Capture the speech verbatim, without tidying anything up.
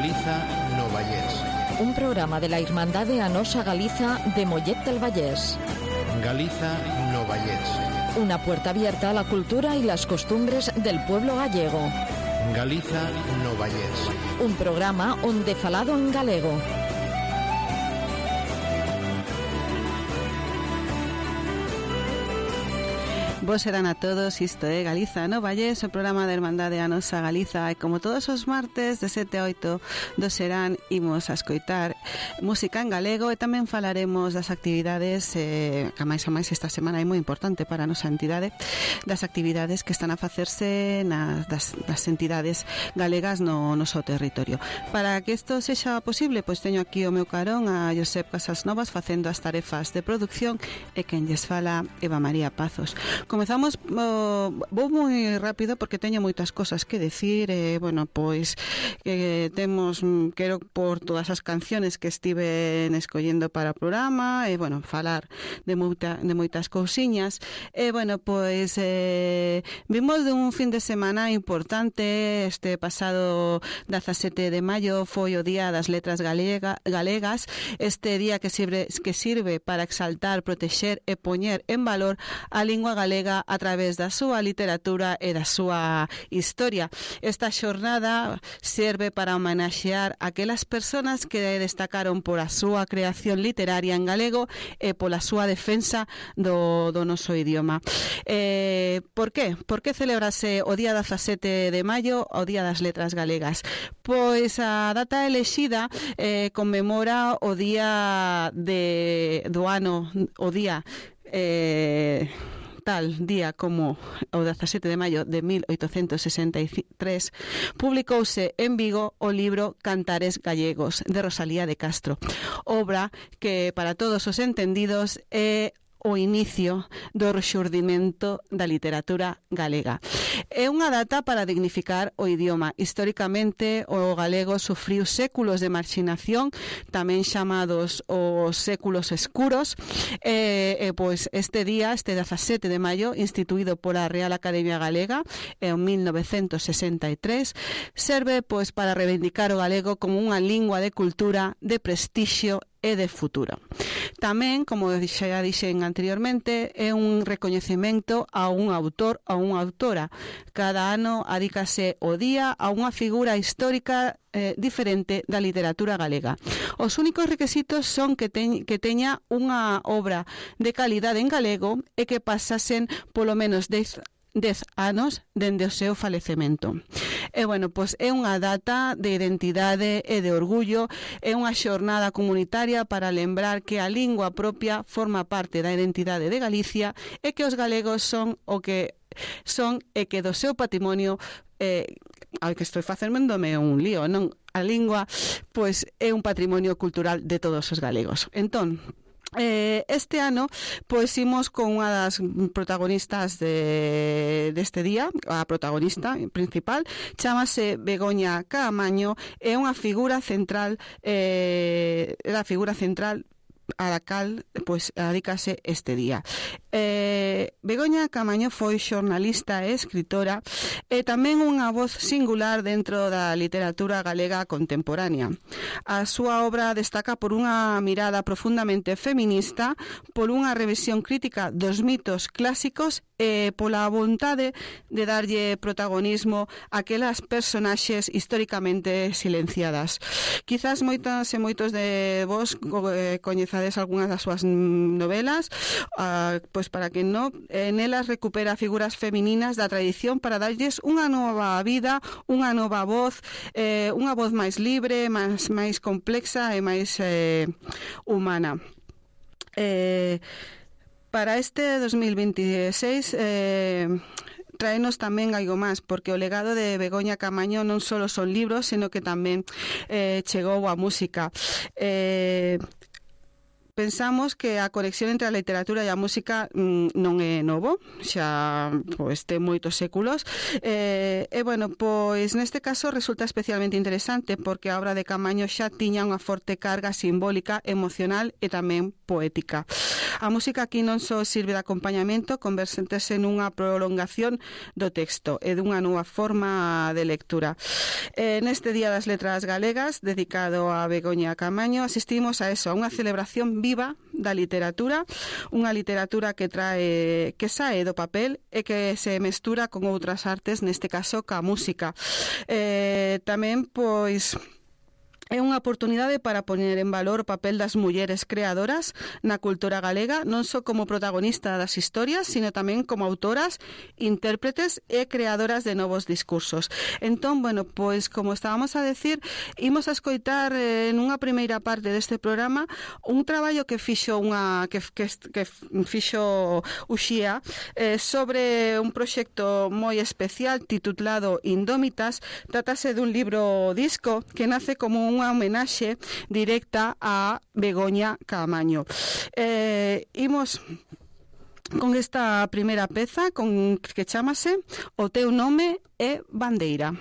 Galiza no Vallés. Un programa de la Irmandade Anosa Galiza de Mollet del Vallés. Galiza no Vallés. Una puerta abierta a la cultura y las costumbres del pueblo gallego. Galiza no Vallés. Un programa onde falado en galego. Vos serán a todos, isto é Galiza no Vallés, o programa da Irmandade Anosa Galiza, e como todos os martes de sete a oito do serán imos a escoitar música en galego e tamén falaremos das actividades eh, que máis a máis esta semana é moi importante para a nosa entidade, das actividades que están a facerse nas das, das entidades galegas no noso territorio. Para que isto sexa posible, pois teño aquí o meu carón a Josep Casasnovas facendo as tarefas de producción e quen lles fala Eva María Pazos. Comezamos, uh, vou moi rápido porque teño moitas cosas que decir, eh, bueno, pois que eh, temos, quero por todas as canciones que estiven escollendo para o programa, e eh, bueno, falar de, moita, de moitas cousiñas, e eh, bueno, pois eh, vimos de un fin de semana importante. Este pasado dezasete de maio foi o Día das Letras Galega, Galegas, este día que sirve, que sirve para exaltar, protexer e poñer en valor a lingua galega a través da súa literatura e da súa historia. Esta xornada serve para homenaxear aquelas persoas que destacaron por a súa creación literaria en galego e pola súa defensa do, do noso idioma. Eh, por qué? Por que celebrase o día dezasete de maio o Día das Letras Galegas? Pois a data elexida eh, conmemora o día de, do ano, o día eh, tal día como o dezasete de maio de mil oitocentos sesenta e tres publicouse en Vigo o libro Cantares Gallegos de Rosalía de Castro, obra que para todos os entendidos é o inicio do rexurdimento da literatura galega. É unha data para dignificar o idioma. Históricamente, o galego sufriu séculos de marxinación, tamén chamados os séculos escuros, e, e pois este día, este dezasete de maio, instituído pola Real Academia Galega en mil novecentos sesenta e tres, serve pois para reivindicar o galego como unha lingua de cultura, de prestixio e de futuro. Tamén, como xa dixen anteriormente, é un recoñecemento a un autor, a unha autora. Cada ano adícase o día a unha figura histórica eh, diferente da literatura galega. Os únicos requisitos son que, te, que teña unha obra de calidade en galego e que pasasen polo menos dez anos dende o seu falecemento. E, bueno, pois é unha data de identidade e de orgullo, é unha xornada comunitaria para lembrar que a lingua propia forma parte da identidade de Galicia e que os galegos son o que son e que do seu patrimonio, eh, ao que estou facéndome un lío, non? A lingua, pois, é un patrimonio cultural de todos os galegos. Entón, Eh, este ano pois imos con unha das protagonistas de deste día, a protagonista principal, chámase Begoña Caamaño, é unha figura central, eh, a figura central a la cal pois adícase este día. Eh, Begoña Caamaño foi xornalista e escritora e tamén unha voz singular dentro da literatura galega contemporánea. A súa obra destaca por unha mirada profundamente feminista, por unha revisión crítica dos mitos clásicos e pola vontade de darlle protagonismo a aquelas personaxes históricamente silenciadas. Quizás moitas e moitos de vos eh, coñezades algunhas das súas novelas, ah, pois para que non, en elas recupera figuras femininas da tradición para darlles unha nova vida, unha nova voz, eh, unha voz máis libre, máis, máis complexa e máis eh, humana. Eh, para este dos mil veintiséis eh, traenos tamén algo máis, porque o legado de Begoña Caamaño non só son libros, sino que tamén eh, chegou a música. Eh, pensamos que a conexión entre a literatura e a música mm, non é novo, xa pois ten moitos séculos, eh, e bueno, pois neste caso resulta especialmente interesante porque a obra de Caamaño xa tiña unha forte carga simbólica, emocional e tamén poética. A música aquí non só sirve de acompañamento, convertese nunha prolongación do texto e dunha nova forma de lectura. Eh, neste Día das Letras Galegas, dedicado a Begoña Caamaño, asistimos a eso, a unha celebración viva da literatura, unha literatura que trae que sae do papel e que se mestura con outras artes, neste caso ca música. Eh, tamén, pois, é unha oportunidade para poñer en valor o papel das mulleres creadoras na cultura galega, non só como protagonista das historias, sino tamén como autoras, intérpretes e creadoras de novos discursos. Entón, bueno, pois, como estábamos a decir, imos a escoitar eh, nunha primeira parte deste programa un traballo que fixo unha que, que, que fixo Uxía eh, sobre un proxecto moi especial titulado Indómitas. Trátase dun libro disco que nace como un unha homenaxe directa a Begoña Caamaño. Eh, imos con esta primeira peza con que chamase O teu nome é bandeira.